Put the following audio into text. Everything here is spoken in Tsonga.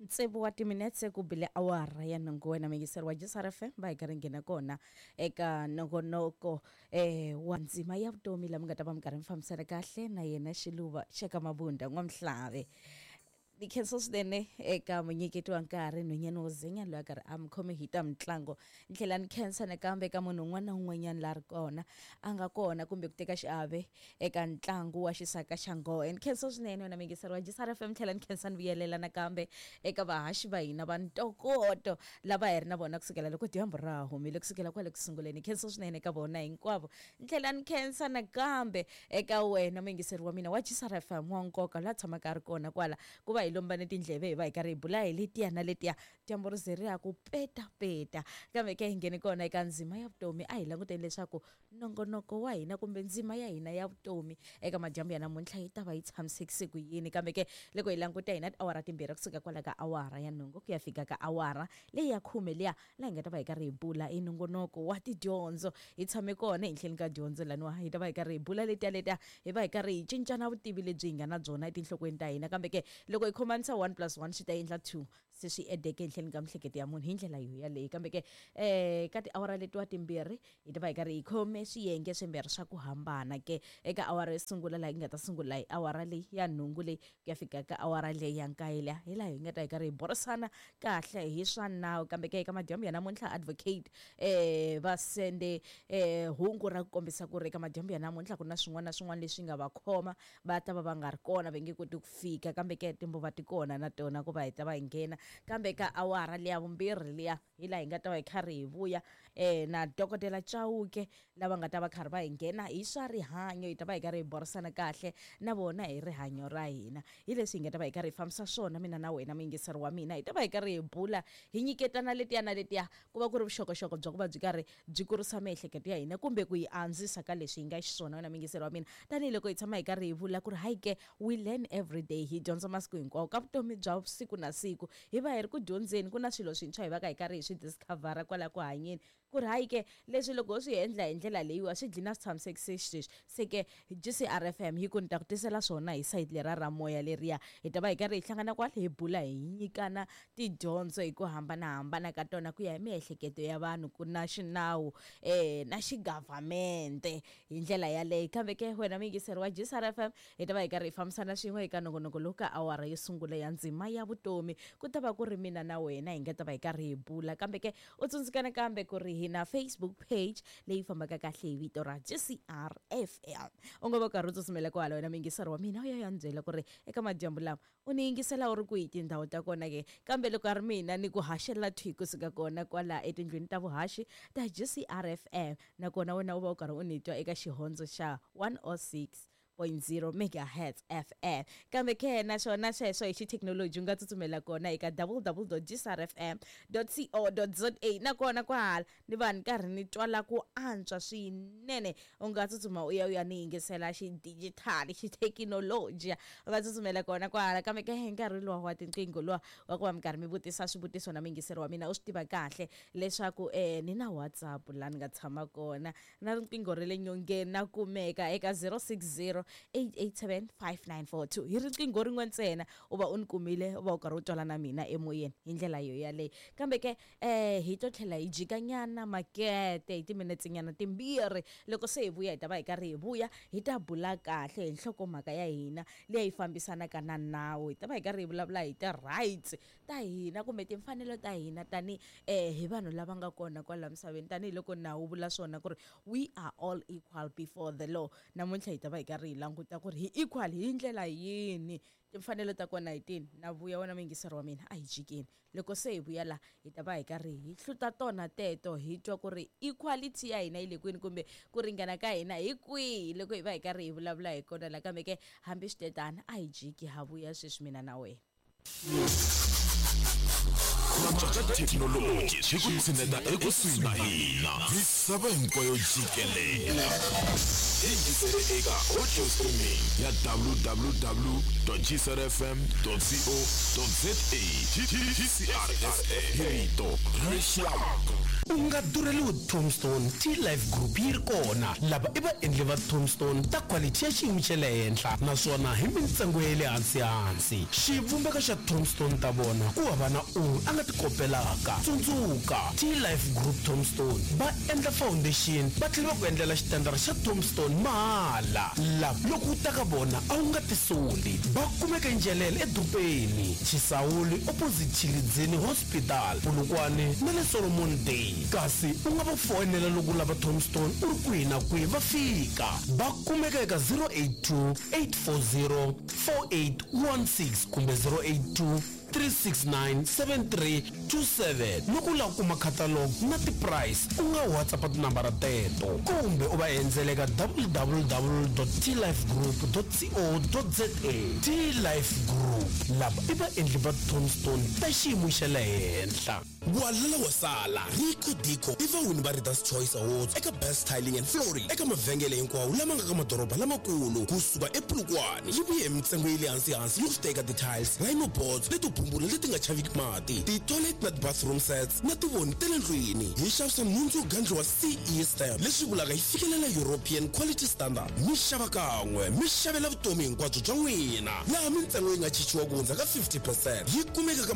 Tsevu wa timinetse ku bile awara ya nhungu wena muyingiseri wa JSR FM va hi karhi nghena kona eka nongonoko wa ndzima ya vutomi laha mi nga ta va mi karhi mi fambisana kahle na yena Xiluva xa ka Mabunda N'wamhlave. Ni khensa swinene eka munyiketi wa nkarhi nhwanyana wo zenya loyi a karhi a mi khome hi ta mitlango. Ni tlhela ni khensa nakambe eka munhu un'wana na un'wanyana la ri kona a nga kona kumbe ku teka xiave eka ntlangu wa xisaka xa nghohe. Ni khensa swinene wena muyingiseri wa JSR FM, tlhela ni khensa ni vuyelela nakambe eka vahaxi va hina va ntokoto lava hi ri na vona kusukela loko dyambu ra ha humile kusukela kwale ku sunguleni. Ni khensa swinene eka vona hinkwavo. Ni tlhela ni khensa nakambe eka wena muyingiseri wa mina wa JSR FM wa nkoka la tshamaka a ri kona kwala ku va hi lombane tindleve hi va hi karhi hi bula hi letiya na letiya dyambu ri ze ri ya ku petapeta. Kambe ke hi nghene kona eka ndzima ya vutomi, a hi languteni leswaku nongonoko wa hina kumbe ndzima ya hina ya vutomi eka madyambu ya namuntlha yi ta va yi tshamisekise ku yini. Kambe ke loko hi languta hi na tiawara timbirhi kusuka kwala ka awara ya nhungu ku ya fika ka awara leyi ya khume liya laha hi nga ta va hi karhi hi bula hi nongonoko wa tidyondzo. Hi tshame kona ehenhleni ka dyondzo laniwa hi ta va hi karhi hi bula letiya letiya hi va hi karhi hi cincana vutivi lebyi hi nga na byona etinhlokweni ta hina. Kambe ke loko hi khomanisa 1 plus 1 swi ta endla 2 se swi edeke ehenhleni ka mihleketo ya munhu hi ndlela yo yaleyo. Kambe ke ka tiawara letiwa timbirhi hi ta va hi karhi hi khome swiyenge swimbirhi swa ku hambana ke eka awara yo sungula laha hi nga ta sungula hi awara leyi ya nhungu leyi ku ya fika ka awara leyi ya nkaye liya hi laha hi nga ta hi karhi hi burisana kahle hi swa nawu. Kambe ke eka madyambu ya namuntlha advocate va sende hungu ra ku kombisa ku ri eka madyambu ya namuntlha ku na swin'wana na swin'wana leswi nga va khoma va ta va va nga ri kona va nge koti ku fika. Kambe ke timbuva ti kona na tona ku va hi ta va hi nghena. Kambe ka awara liya vumbirhi liya hi laha hi nga ta va hi karhi hi vuya na dokodela Chauke lava nga ta va karhi va hi nghena hi swa rihanyo. Hi ta va hi karhi hi burisana kahle na vona hi rihanyo ra hina. Hi leswi hi nga ta va hi karhi hi fambisa swona mina na wena muyingiseri wa mina. Hi ta va hi karhi hi bula hi nyiketana letiya na letiya ku va ku ri vuxokoxoko bya ku va byi karhi byi kurisa miehleketo ya hina kumbe ku yi andzisa ka leswi hi nga xiswona wena muyingiseri wa mina. Tanihiloko hi tshama hi karhi hi vula ku ri hayi ke we learn every day, hi dyondza masiku hinkwawo ka vutomi bya siku na siku. Hi va hi ri ku dyondzeni, ku na swilo swintshwa hi va ka hi karhi hi swi discovera kwala ku hanyeni ku ri hayi ke leswi loko ho swi endla hi ndlela leyiwa swi dlina swi tshamisekise xisweswi. Se ke GCR FM yi ku ni ta ku tisela swona hi sayiti lera ra moya leriya. Hi ta va hi karhi hi hlangana kwala hi bula hi nyikana tidyondzo hi ku hambanahambana ka tona ku ya hi miehleketo ya vanhu ku na xinawu na xigavhamente hi ndlela yaleyo. Kambe ke wena muyingiseri wa GCR FM hi ta va hi karhi hi fambisana swin'we eka nongonoko lowu ka awara yo sungula ya ndzima ya vutomi. Ku ta va ku ri mina na wena hi nga ta va hi karhi hi bula. Kambe ke u tsundzuka nakambe ku ri hi na Facebook page leyi fambaka kahle hi vito ra GCR FM. U nga va u karhi u tsutsumela kwala wena muyingiseri wa mina u ya ya ni byela ku ri eka madyambu lama u ni yingisela u ri kwihi tindhawu ta kona ke. Kambe loko a ri mina ni ku haxela thwi kusuka kona kwala etindlwini ta vuhaxi ta GCR FM, nakona wena u va u karhi u ni twa eka xihondzo xa 106.0 megahertz FM. Kambe ke naswona sweswo hi xithekinoloji u nga tsutsumela kona eka www.gcrfm.co.za, nakona kwahala ni va ni karhi ni twala ku antswa swinene. U nga tsutsuma u ya u ya ni yingisela xidijitali xithekinoloji, u nga tsutsumela kona kwahala. Kambe ke hi nkarhi luwa wa tinqingho luwa wa ku va mi karhi mi vutisa swivutiso na muyingiseri wa mina, u swi tiva kahle leswaku ni na WhatsApp laha ni nga tshama kona na riqingho ra le nyongeni na kumeka eka 060 887 5942. Hi riqingho rin'we ntsena u va u ni kumile, u va u karhi u twala na mina emoyeni hi ndlela yo yaleyo. Kambe ke hi to tlhela hi jikanyana makete hi timinetse nyana timbirhi. Loko se hi vuya hi ta va hi karhi hi vuya hi ta bula kahle hi nhlokomhaka ya hina leyi fambisanaka na nawu. Hi ta va hi karhi hi vulavula hi ti-rights ta hina kumbe timfanelo ta hina tani hi vanhu lava nga kona kwala misaveni, tanihiloko nawu wu vula swona ku ri we are all equal before the law. Namuntlha hi ta va hi karhi hi languta ku ri hi equal hi ndlela yini, timfanelo ta kona hi tini. Na vuya wena muyingiseri wa mina, a hi jikeni. Loko se hi vuya la hi ta va hi karhi hi hluta tona teto, hi twa ku ri equality ya hina yi le kwini kumbe ku ringana ka hina hi kwihi loko hi va hi karhi hi vulavula hi kona la. Kambe ke hambi switetano a hi jiki, ha vuya sweswi mina na wena. Ku cinca ka thekinoloji swi ku tshineta ekusuhi na hina. Misava hinkwayo jikelele. Yingisele eka audio streaming ya www.gcrfm.co.za. GCRFM hi rito ra rixaka. U nga durheliwi Tombstone T-Life Group yi ri kona. Lava i vaendli va Tombstone ta quality ya xiyimo xa le henhla naswona hi mintsengo ya le hansi-hansi. Xivumbeko xa Tombstone ta vona ku hava na un'we a nga ti kopelaka. Tsundzuka, T-Life Group Tombstone va endla foundation va tlhela va ku endlela xitandara xa Tombstone mahala. Lava loko u ta ka vona a wu nga tisoli. Va kumeka eNjelele edorobeni, Chisawuli opposite Tshilidzini Hospital, Polokwane na le Solomon Day. Kasi u nga va foyinela loko u lava Tombstone u ri kwihi na kwihi va fika. Va kumeka eka 082 840 4816 kumbe 082 369 7327. Loko u lava ku kuma catalog na ti-price u nga WhatsApp tinambara teto kumbe u va endzela eka www.tlifegroup.co.za. T-Life Group, lava i vaendli va Tombstone ta xiyimo xa le henhla. Walala wa sala, Rico Dico i vawini va Readers Choice Awards eka Best Tiling and Flooring eka mavhengele hinkwawo lama nga ka madoroba lamakulu kusuka ePolokwane. Yi vuye hi mintsengo ya le hansi-hansi loko swi ta eka ti-tiles, rhino boards leto bumbula leti nga chaviki mati, ti-toilet na ti-bathroom sets na tivoni ta le ndlwini. Hi xavisa nhundzu yo gandliwa CE stamp, leswi vulaka yi fikelela European Quality Standard. Mi xava kan'we, mi xavela vutomi hinkwabyo bya n'wina, laha mintsengo yi nga chichiwa ku hundza ka 50 percent. Yi kumeka ka